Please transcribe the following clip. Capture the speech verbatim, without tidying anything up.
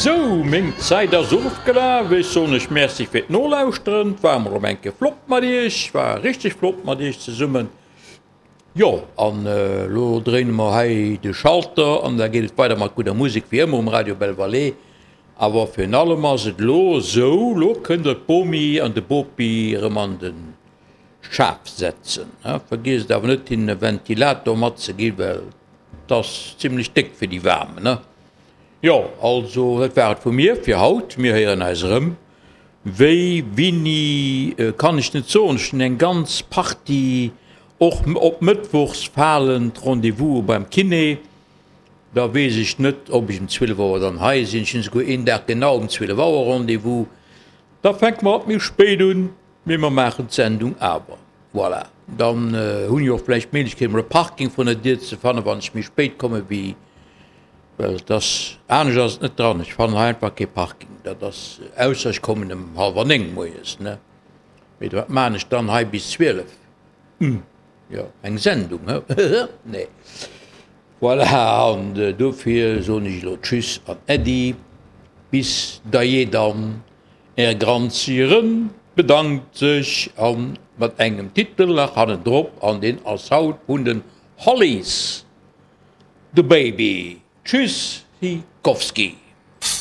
Sou, meng Zäit ass ofgelaf. Ech soen iech Merci fir d'Nolauschteren. Et war emol erëm eng Kéier flott mat iech, war richteg flott mat iech zesummen. Jo, an elo dréine mer hei de Schalter an da geet et weider mat gudder Musek wéi ëmmer um Radio Belle Vallée. Awer virun allem ass et elo esou, elo kënnt der d'Bomi an de Bopi erëm an de Schaf setzen. Vergiesst awer net hinnen e Ventilator matzeginn, well 't ass zimlech déck fir déi waarm, ne? Jo, also dat war et vu mir fir haut. Mir héieren eis erëm. Wéi, wini, kann ech net soen. Ech hunn eng ganz Partie och op mëttwochs falend Rendez-vouse beim Kiné. Da weess ech net, ob ech um zwielef Auer dann hei sinn. Ech hunn esouguer een Dag genau um zwielef Auer Rendez-vous. Da fänke mer alt méi spéit un, mee mer maachen d'Sendung awer. Voilà, dann hunn ech och vläicht d'Méiglechkeet, emol e Parking vrun der Dier ze fannen, wann ech méi spéit komme wéi. Well et ass, anescht ass et net dran, ech fannen hei einfach kee Parking, dat ass, ausser ech kommen ëm hallwer néng moies, ne? Mee wat maan ech dann hei bis zwielef? Hm, jo, eng Sendung, he? Nee. Voilà, an dofir soen ech elo Tschüss an Äddi, bis dajee dann, Är Granzieren bedankt sech an mat engem Titel nach hannendrop, an deen ass haut vun den Hollies. The Baby. Tschüss Sikowski.